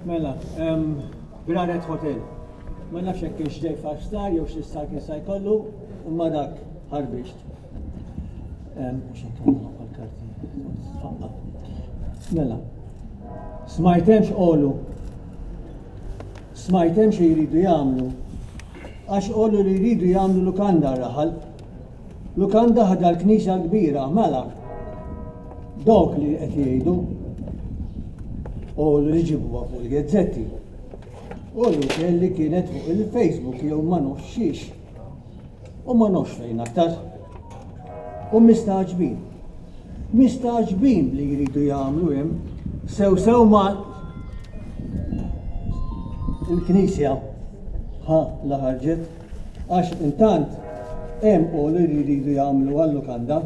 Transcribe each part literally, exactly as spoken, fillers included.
Mela, em, Braret Hotel. Ma nafx hekk kienx ġej five star jew xi star kien sa jkollu, imma dak ħarbixt. Em, Mhux hekk għandna għal-karti. Tfaqqa. Mela, smajtem x'qolu. Smajtem xi jridu jagħmlu. Għax qolu li jridu jagħmlu lukanda raħal. Lukanda ħda l-knisja l-kbira, mela. Dawk li qed jgħidu u li ġibuha fuq il-gazzetti. U l li kienet fuq il-Facebook jew ma nafx xiex. U ma nafx fejn aktar. U mistagħġbin. Mistagħġbin li jridu jagħmlu hemm sew sew ma il-knisja ħa la ħarġet għax intant hemm u li jridu jagħmlu għal-lukanda.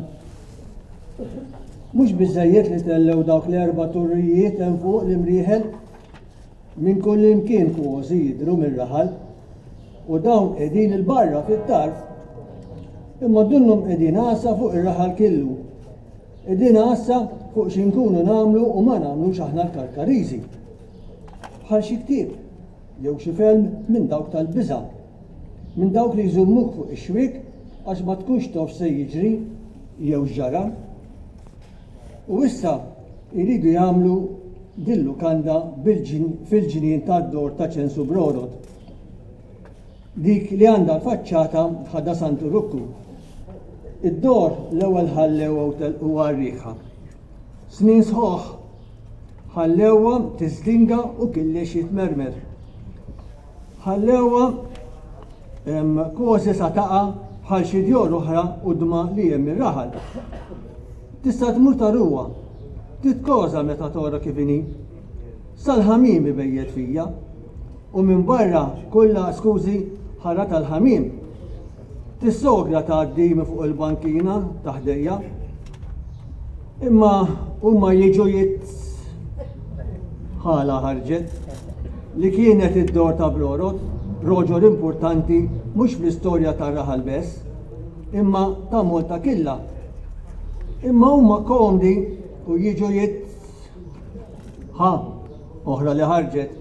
Mhux biżejjed li tellew dawk l-erba' turrijiet hemm fuq l-imrieħel minn kull imkien kważi jidhru mir-raħal u dawn qegħdin il-barra fit-tarf. Imma dunnhom qegħdin għassa fuq ir-raħal killu. Qegħdin għassa fuq xi nkunu nagħmlu u ma nagħmlux aħna l-Karkariżi. Bħal xi ktieb jew xi film minn dawk tal-biża'. Minn dawk li jżummuk fuq ix-xwiek għax ma tkunx taf se jiġri jew x'ġara. U issa jridu jagħmlu din lukanda fil-ġnien tad-dor ta' Ċensu Brorod. Dik li għandha l-faċċata ħadha Santu Rukku. Id-dor l-ewwel ħallewha u telquha r-riħa. Snin sħoħ ħallewha tiżdinga u killex jitmermer. Ħallewha kważi sa taqa' bħal xi djor oħra qudma li hemm ir-raħal. Tista' tmur taruha, titkoża meta tora kif inhi. Sal-ħamim ibejjet fija u minn barra kollha skużi ħara tal-ħamim. Tissogra tgħaddi minn fuq il-bankina ta' ħdejja. Imma huma jiġu jit ħala ħarġet li kienet id-dor ta' Brorod, roġol importanti mhux fl-istorja tar-raħal bess, imma ta' Malta killa. Imma huma komdi u jiġu jit ħa oħra li ħarġet.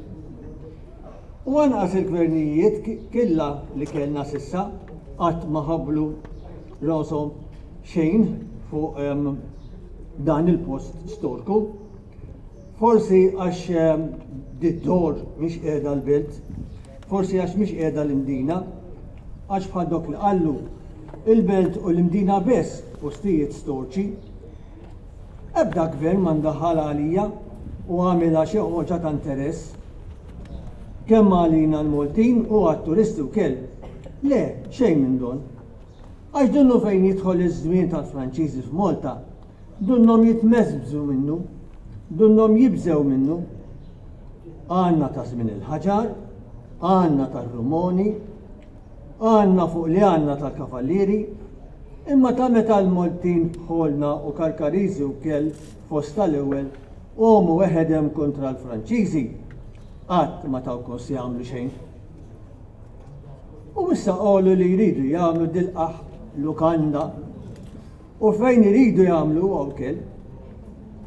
U anqas il-gvernijiet killa li kellna sissa qatt ma ħablu rashom xejn fuq um, dan il-post storku. Forsi għax um, did-dor mhix qiegħda l-belt, forsi għax mhix qiegħda l-Imdina, għax bħal dok li qallu il-belt u l-Imdina biss postijiet storċi. Ebda gvern ma ndaħal għalija u għamilha xi ħoġa ta' interess. Kemm għalina l-Maltin u għat-turisti wkoll. Le, xejn minn don. Għax dunnu fejn jidħol iż-żmien tal-Franċiżi f'Malta, dunnhom jitmeżbżu minnu, dunnhom jibżew minnu. Għandna ta' żmien il-ħaġar, għandna tar-Rumoni, għandna fuq li għandna tal-Kavallieri, imma ta' meta l-Maltin bħolna u Karkariżi wkoll fost tal-ewwel qomu weħedem kontra l-Franċiżi, qatt ma taw kos jagħmlu xejn. U issa qalu li jridu jagħmlu dilqaħ lukanda u fejn iridu jagħmlu wkoll.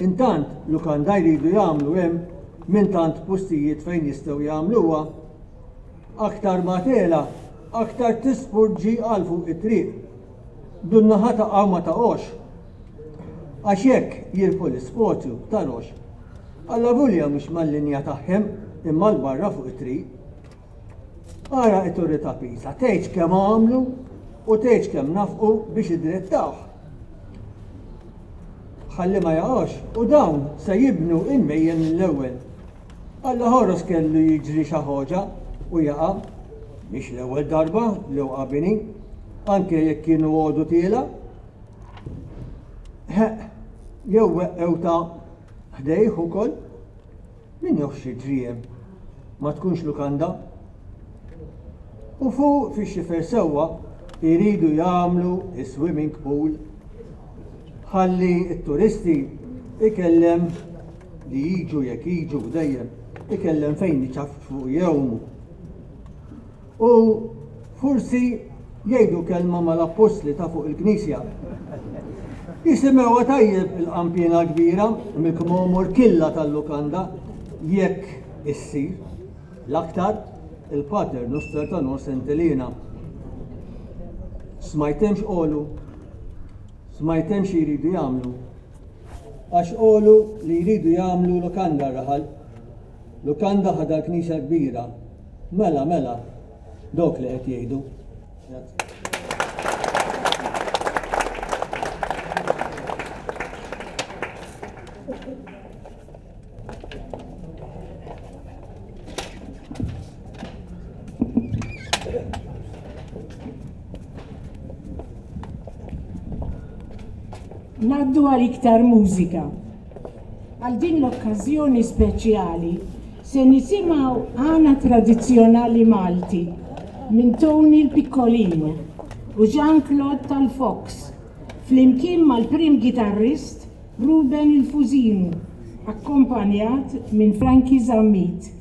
Intant lukanda jridu jagħmlu hemm minn tant postijiet fejn jistgħu jagħmluha. Aktar ma tela, aktar tispurġi għal fuq it-triq. Dunna ħa taqa' ma taqgħox. Għax hekk jirbħu l-ispozju ta' rox. Alla vulja mhux mal-linja tagħhom imma l-barra fuq it-triq. Ara it-torri ta' Pisa, tgħidx kemm għamlu u tgħidx kemm nafqu biex idrettawh. Ħalli ma jaqgħux u dawn se jibnu il-mejjen mill-ewwel. Alla ħoros kellu jiġri xi ħoġa u jaqa' mhix l-ewwel darba li waqa' bini, anke jekk kienu għodu tiela. Ħeq, jew weqqew ta' ħdejh ukoll. Min jaf x'jiġri hemm? Ma tkunx lukanda. U fuq fix-xifer sewwa jridu jagħmlu is-swimming pool. Ħalli t-turisti ikellem li jiġu jekk jiġu dejjem ikellem fejn iċaffu jewmu. U forsi jgħidu kelma mal-appostli ta' fuq il-knisja. Jisimgħuha tajjeb il-qanpiena kbira mill-kmomor killa tal-lukanda jekk issir, l-aktar il-Pater Noster ta' Nor Sant'Elena. Smajtem x'qolu, smajtem xi jridu jagħmlu. Għax qolu li jridu jagħmlu lukanda raħal. Lukanda ħada l-knisja kbira. Mela, mela, dok li qed jgħidu. Ngħaddu għal iktar mużika. Għal din l-okkażjoni speċjali se nisimgħu għana tradizzjonali Malti minn Tony l-Piccolin u Jean-Claude tal-Fox flimkien mal-prim gitarrist Ruben il-Fusinu, akkompanjat minn Frankie Zammit.